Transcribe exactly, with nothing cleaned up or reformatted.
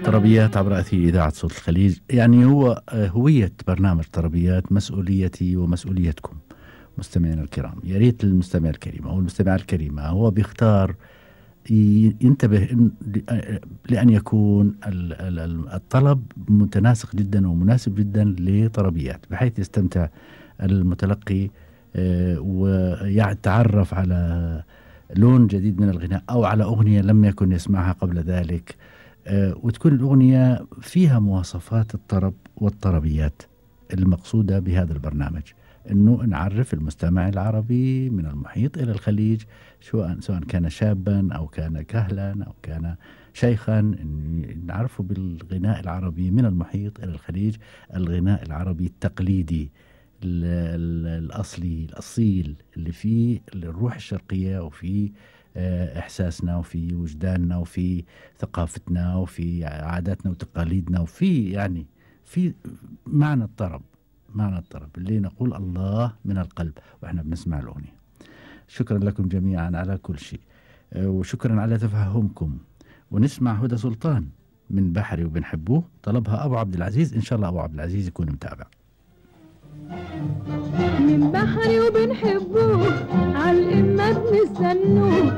طربيات عبر أثير إذاعة صوت الخليج. يعني هو هوية برنامج طربيات مسؤوليتي ومسؤوليتكم مستمعينا الكرام. يا ريت المستمع الكريم أو المستمع الكريمة هو بيختار ينتبه لأن يكون الطلب متناسق جدا ومناسب جدا لطربيات، بحيث يستمتع المتلقي ويتعرف على لون جديد من الغناء أو على أغنية لم يكن يسمعها قبل ذلك، وتكون الأغنية فيها مواصفات الطرب والطربيات. المقصودة بهذا البرنامج أنه نعرف المستمع العربي من المحيط إلى الخليج، سواء سواء كان شابا أو كان كهلا أو كان شيخا، نعرفه بالغناء العربي من المحيط إلى الخليج، الغناء العربي التقليدي الأصلي الأصيل اللي فيه الروح الشرقية وفي إحساسنا وفي وجداننا وفي ثقافتنا وفي عاداتنا وتقاليدنا وفي يعني في معنى الطرب، معنى الطرب اللي نقول الله من القلب وإحنا بنسمع الأغنية. شكرا لكم جميعا على كل شيء، وشكرا على تفهمكم. ونسمع هدى سلطان من بحري وبنحبوه، طلبها أبو عبد العزيز. إن شاء الله أبو عبد العزيز يكون متابع. من بحري وبنحبوه عالإمة بنستنوه